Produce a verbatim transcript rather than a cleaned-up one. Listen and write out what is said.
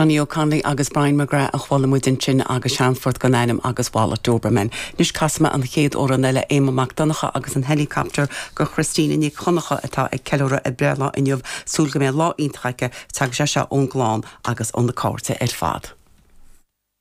Johnny O'Connolly agus Brian McGrath a chuala muid ansin agus seanphort gan ainm agus Wallet Doberman. Anois casfaidh mé an chéad amhrán eile Éamonn Mac Donncha agus an helicopter go Christina Nic Choncha atá ag ceiliúradh a breithlá inniu súil go mbeidh lá iontach aici tagann sé seo ón gclann agus ó na cairde ar fad.